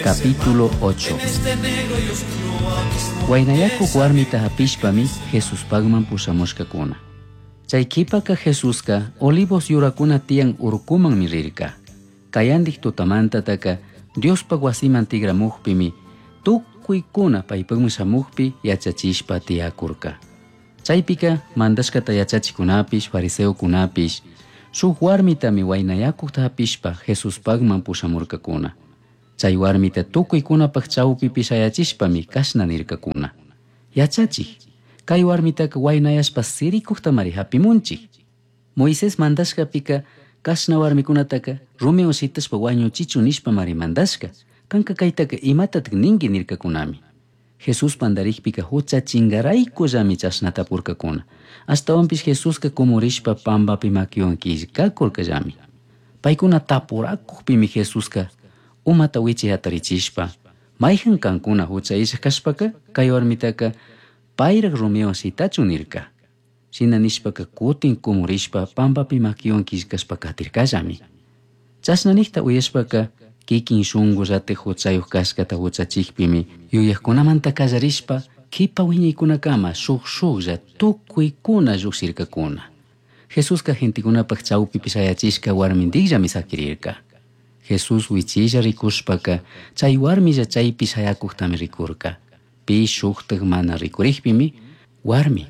Capítulo 8 Huaynayakuq warmita hapishpami Jesuspagman pushamushkakuna. Chay qhipaka Jesuska Olivos yurakuna tiyan urkumanmi rirka. Kayandik tutamantataka Diospaq wasiman tigramukpimi tukuykuna paypaqman shamukpi yachachishpa tiyakurka. Chaypika mandashkata yachachikunapish fariseokunapish shuk warmitami waynayakuqta hapishpa Jesuspaqman pushamurkakuna. Chay warmita tukuykunapaq chawpipi shayachishpami kashna nirkakuna. Yachachik, kay warmitaka waynayashpa sirikuqtamari hapimunchik. Moisés mandashkapika kashna warmikunataka rumiwan shitashpa wañuchichun nishpamari mandashka. Kanka kaytaka imatatak ninki nirkakunami. Jesús pandarikpika huchachinkaraykullami chashna tapurkakuna. Ashtawanpish Jesuska kumurishpa pampapi makiwan killkakurkallami. Paykuna tapurakukpimi Jesuska umata wichi hatarichishpa mayhan kankuna hucha illak kashpaka kay warmitaka payrak rumiwan shitachun nirka. Shina nishpaka kutin kumurishpa pampapi makiwan killkashpa katirkallami. Chashna nikta uyashpaka kikin shunkullatik huchayuq kashkata huchachikpimi yuyakkunamanta kallarishpa kipa wiñaykunakama shuk shuklla tukuykuna llukshirkakuna. Jesuska gentekunapak chawpipi shayachishka warmintikllami sakirirka. Jesús wichilla rikushpaka chay warmilla chaypi shayakuqtami rikurka. Pi shuktak mana rikurikpimi warmi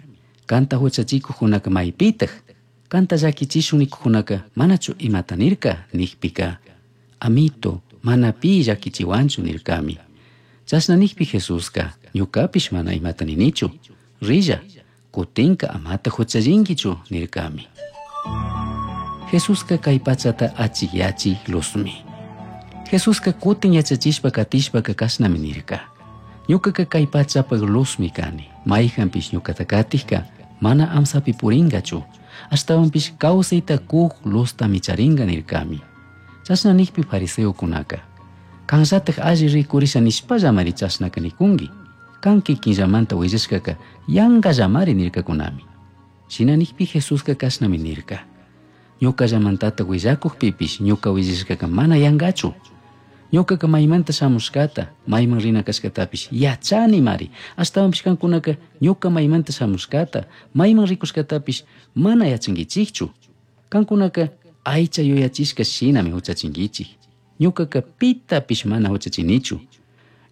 kanta huchachikuqkunaka maypitaq kanta llakichishun nikuqkunaka manachu imata nirka nikpika amito mana pi llakichiwanchu nirkami. Chashna nikpi Jesuska ñukapish mana imata ninichu rilla kutinka amata huchallinkichu nirkami. Jesuska kay pachata achikyachik luzmi. Jesuska kutin yachachishpa katishpaka kashnami nirka. Ñukaka kay pachapak luzmi kani. Mayhanpish ñukata katikka mana amsapi purinkachu. Ashtawanpish kawsayta kuk luztami charinka nirkami. Chashna nikpi fariseokunaka kanllatak alli rikurisha nishpallamari chashnaka nikunki. Kan kikinllamanta willashkaka yankallamari nirkakunami. Shina nikpi Jesuska kashnami nirka. Ñukallamantatak willakukpipish ñuka willashkaka mana yankachu. Ñukaka maymanta shamushkata, mayman rina kashkatapish yachanimari. Ashtawanpish kankunaka ñuka maymanta shamushkata, mayman rikushkatapish mana yachankichikchu. Kankunaka aycha yuyachishka shinami huchachinkichik. Ñukaka pitapish mana huchachinichu.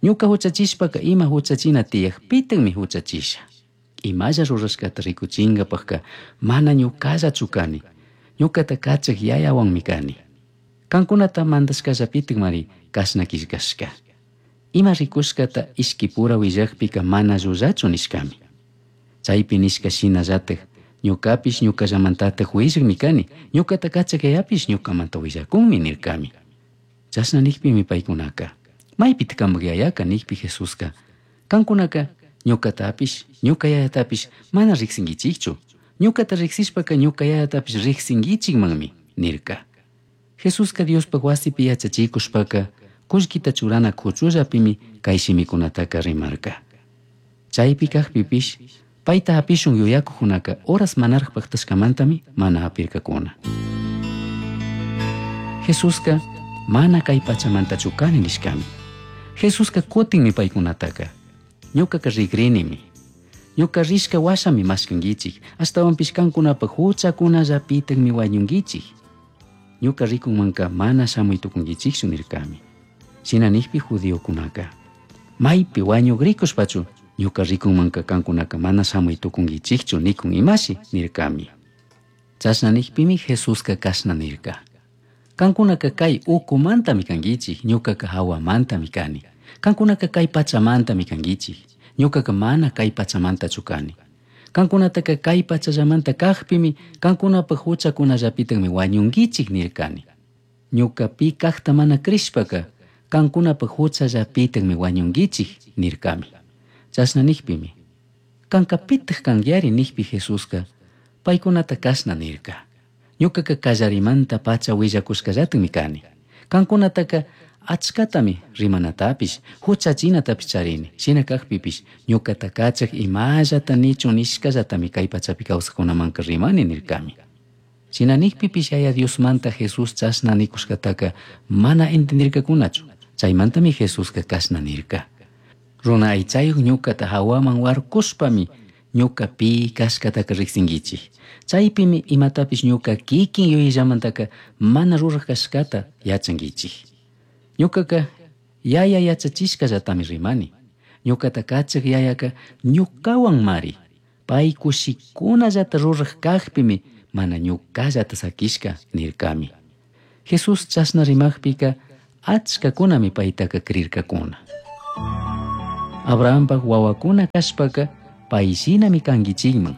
Ñuka huchachishpaka ima huchachina tiyakpitakmi huchachisha. Imalla rurashkata rikuchinkapakka mana ñukallachu kani. Ñukata kachak yayawanmi kani. Kankunata mandashkallapitakmari kashna killkashka. Ima rikushkata ishkipura willakpika mana llullachu nishkami. Chaypi nishka shinallatak ñukapish ñukallamantatak willakmi kani, ñukata kachak yayapish ñukamanta willakunmi nirkami. Chashna nikpimi paykunaka maypitak kanpak yayaka nikpi Jesuska kankunaka ñukatapish ñuka yayatapish mana riksinkichikchu. Ñukata riksishpaka ñuka yayatapish riksinkichikmanmi nirka. Jesuska Diospaq wasipi yachachikushpaka kullkita churana kuchullapimi kay shimikunataka rimarka. Chaypi kakpipish payta hapishun yuyakuqkunaka horas manaraq paktashkamantami mana hapirkakuna. Jesuska mana kay pachamantachu kani nishkami. Jesuska kutinmi paykunataka ñukaka rikrinimi. Ñuka rishka washami mashkankichik, ashtawanpish kankunapak huchakunallapitakmi wañunkichik. Ñuka rikunmanka mana shamuy tukunkichikchu nirkami. Shina nikpi judiokunaka maypi wañukrikushpachu ñuka rikunmanka kankunaka mana shamuy tukunkichikchu nikun imashi nirkami. Chashna nikpimi Jesuska kashna nirka. Kankunaka kay ukumantami kankichik, ñukaka hawamantami kani. Kankunaka kay pachamantami kankichik, ñukaka mana kay pachamantachu kani. Kankunataka kay pachallamanta kakpimi kankunapak huchakunallapitakmi wañunkichik nirkani. Ñuka pi kakta mana crishpaka kankunapak huchallapitakmi wañunkichik nirkami. Chashna nikpimi kanka pitak kankiari nikpi Jesuska paykunata kashna nirka. Ñukaka kallarimanta pacha willakushkallatakmi kani. Kankunataka achkatami rimanatapish huchachinatapish charini. Shina kakpipish ñukata kachak imallata nichun nishkallatami kay pachapi kawsakkunamanka rimani nirkami. Shina nikpipish Yaya Diosmanta Jesús chashna nikushkataka mana entendirkakunachu. Chaimantami Jesusca cashna nirca: Runa aichayuj ñucata jahuaman huarcushpami ñuca pi cashcataca rijsinguichij. Chaipimi imatapish ñuca quiquin yuyillamantaca mana ruraj cashcata yachanguichij. Ñucaca yaya yachachishcallatami rimani. Ñucata cachaj yayaca ñucahuanmari. Pai cushicunallata ruraj cajpimi mana ñucallata saquishca nircami. Jesús chashna rimajpica achcacunami paitaca crircacuna. Abrahampaj huahuacuna cashpaca pai shinami canguichijman.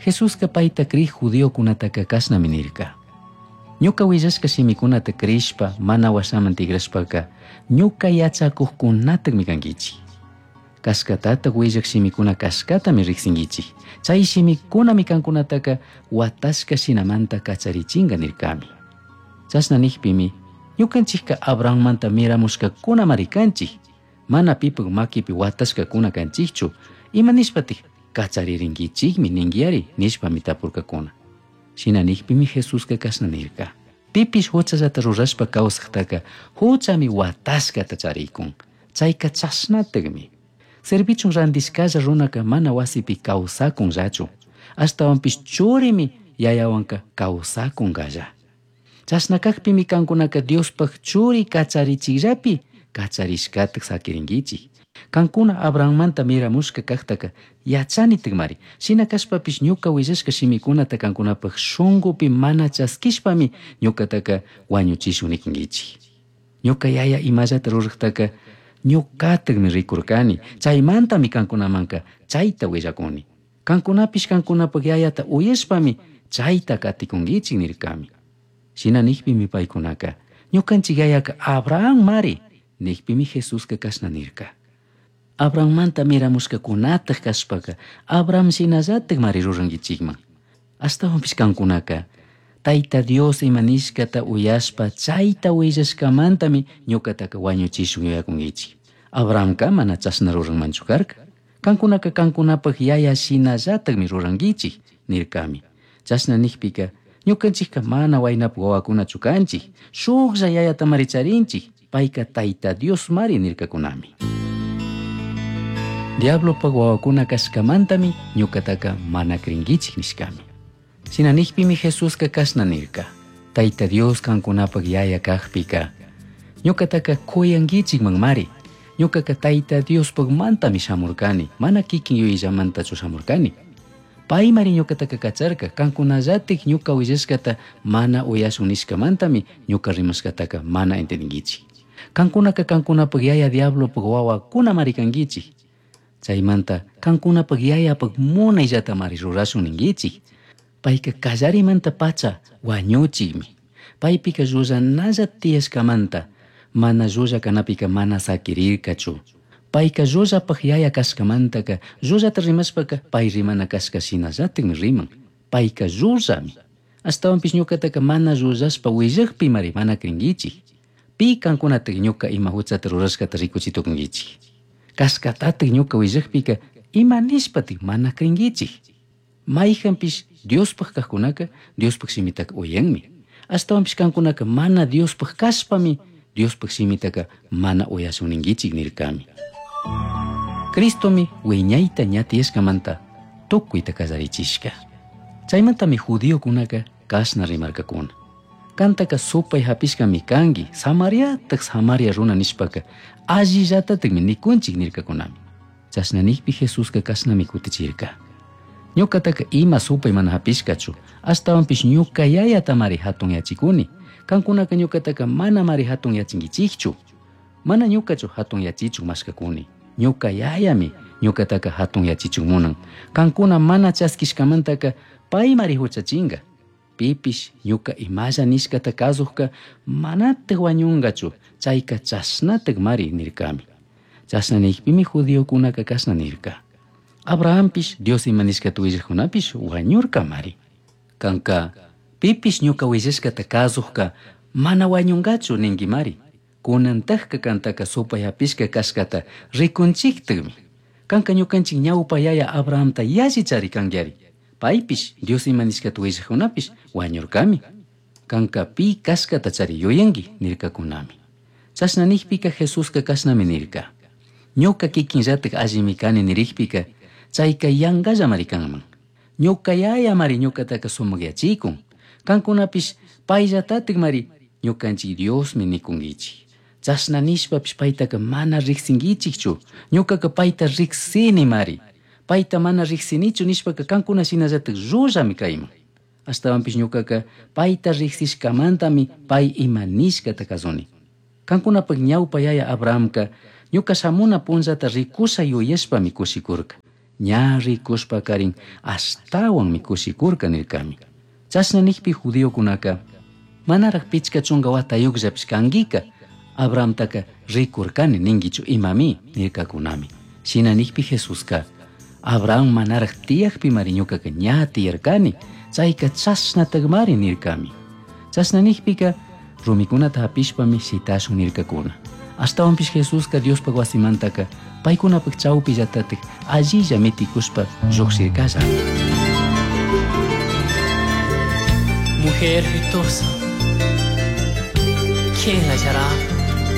Jesusca paita crij judiocunataca cashnami nirca: Ñuca huillashca shimicunata crishpa mana huashaman tigrashpaca ñuca yachacujcunatajmi canguichij. Cashcatataj huillaj shimicuna cashcatami rijsinguichij. Chai shimicunami cancunataca huatashca shinamanta cacharichinga nircami. Chashna nijpimi ñucanchijca Abrahammanta miramushcacunamari canchij. Mana pipaj maquipi huatashcacuna canchijchu. Ima nishpataj cachariringuichijmi ninguiari nishpami tapurcacuna. Shina nijpimi Jesusca cashna nirca: Pipish juchallata rurashpa causajtaca juchami huatashcata charicun. Chaica chashnatajmi. Servichun randishcalla runaca mana huasipi causacunllachu. Ashtahuanpish churimi yayahuanca causacungalla. Chashna cajpimi cancunaca Diospaj churi cacharichijllapi cacharishcataj saquiringuichij. Cancuna Abrahammanta miramushca cajtaca yachanitajmari. Shina cashpapish ñuca huillashca shimicunata cancunapaj shungupi mana chasquishpami ñucataca huañuchishun nicunguichij. Ñuca yaya imallata rurajtaca ñucatajmi ricurcani. Chaimantami cancunamanca chaita huillacuni. Cancunapish cancunapaj yayata uyashpami chaita caticunguichij nircami. Shina nijpimi paicunaca ñucanchij yayaca Abraham mari nijpimi Jesusca cashna nirca: Abrahammanta miramushcacunataj cashpaca Abraham shinallataj mari ruranguichijman. Ashtahuanpish cancunaca Taita Dios ima nishcata uyashpa chaita huillashcamantami ñucataca huañuchishun yuyacunguichij. Abrahamca mana chashna ruranmanchu carca. Cancunaca cancunapaj yaya shinallatajmi ruranguichij nircami. Chashna nijpica ñucanchijca mana huainapaj huahuacunachu canchij. Shujlla yayatamari charinchij. Paica Taita Dios mari nircacunami. Diablopaj huahuacuna cashcamantami ñucataca mana cringuichij nishcami. Shina nijpimi Jesusca cashna nirca: Taita Dios cancunapaj yaya cajpica ñucataca cuyanguichijman mari. Ñucaca Taita Diospajmantami shamurcani, mana quiquin yuyillamantachu shamurcani. Paimari ñucataca cacharca, cancunallataj ñuca huillashcata mana uyashun nishcamantami ñuca rimashcataca mana entendinguichij. Cancunaca cancunapaj yaya diablopaj huahuacunamari canguichij. Chaimanta cancunapaj yayapaj munaillatamari rurashun ninguichij. Paica callarimanta pacha huañuchijmi. Paipica llullanalla tiyashcamanta mana llulla canapica mana saquirircachu. Paica llullapaj yaya cashcamantaca llullata rimashpaca pai rimana cashca shinallatajmi riman. Paica llullami. Ashtahuanpish ñucataca mana llullashpa huillajpimari mana cringuichij. Pi cancunataj ñuca ima juchata rurashcata ricuchi tucunguichij. Cashcatataj ñuca huillajpica ima nishpataj mana cringuichij. Maijanpish Diospaj cajcunaca Diospaj shimitaca uyanmi. Ashtahuanpish cancunaca mana Diospaj cashpami Diospaj shimitaca mana uyashun ninguichij nircami. Cristomi huiñaita ña tiyashcamanta tucuita callarichishca. Chaimantami judiocunaca cashna rimarcacuna: Cantaca supai japishcami cangui, Samariataj Samaria runa nishpaca allillatatajmi nicunchij nircacunami. Chashna nijpi Jesusca cashnami cutichirca: Ñucataca ima supai mana japishcachu, ashtahuanpish ñuca yayatamari jatunyachicuni. Cancunaca ñucataca manamari jatunyachinguichijchu. Mana ñucachu jatunyachichun mashcacuni. Ñuca yayami ñucataca jatunyachichun munan. Cancuna mana chasquishcamantaca paimari juchachinga. Pipish ñuca imalla nishcata cazujca manataj huañungachu, chaica chashnataj mari nircami. Chashna nijpimi judiocunaca cashna nirca: Abrahampish Dios ima nishcata huillajcunapish huañurcamari. Canca pipish ñuca huillashcata cazujca mana huañungachu ninguimari. Cunantajca cantaca supai japishca cashcata ricunchijtajmi. Canca ñucanchij ñaupa yaya Abrahamta yalli chari canguiari. Paipish Dios ima nishcata huillajcunapish huañurcami. Canca pi cashcata chari yuyangui nircacunami. Chashna nijpica Jesusca cashnami nirca: Ñuca kikinllataj allimi cani nirikpika, chayka yangallamari kanman. Ñuca yayamari ñucataca sumakyachikun. Kankunapish payllatatikmari ñukanchik Diosmi nikunkichik. Chashna nishpapish paytaka mana riqsinkichikchu. Ñucaca payta riqsinimari. Payta mana riqsinichu nishpaka kankuna shinallatak llullami kayman. Ashtawanpish ñucaca payta riqsishkamantami pay ima nishkata kasuni. Kankunapak ñawpa yaya Abrahamka ñuka shamuna punllata rikusha yuyashpami kushikurka. Ña rikushpakarin ashtawanmi kushikurka nirkami. Chashna nijpi judiokunaka manaraj pichka chunka watayuqllapish kankika Abrahamtaka rikurkani ninkichu imami nirkakunami. Shina nijpi Jesuska Abraham manaraj tiyakpimari ñukaka ña tiyarkani, chayka chashnatakmari nirkami. Chashna nijpika rumikunata hapishpami shitashun nirkakuna. Ashtawanpish Jesuska Diospaj wasimantaka paykunapak chawpillatatik allilla mitikushpa llujshirkalla. Mujer virtuosa, ¿quién la hallará?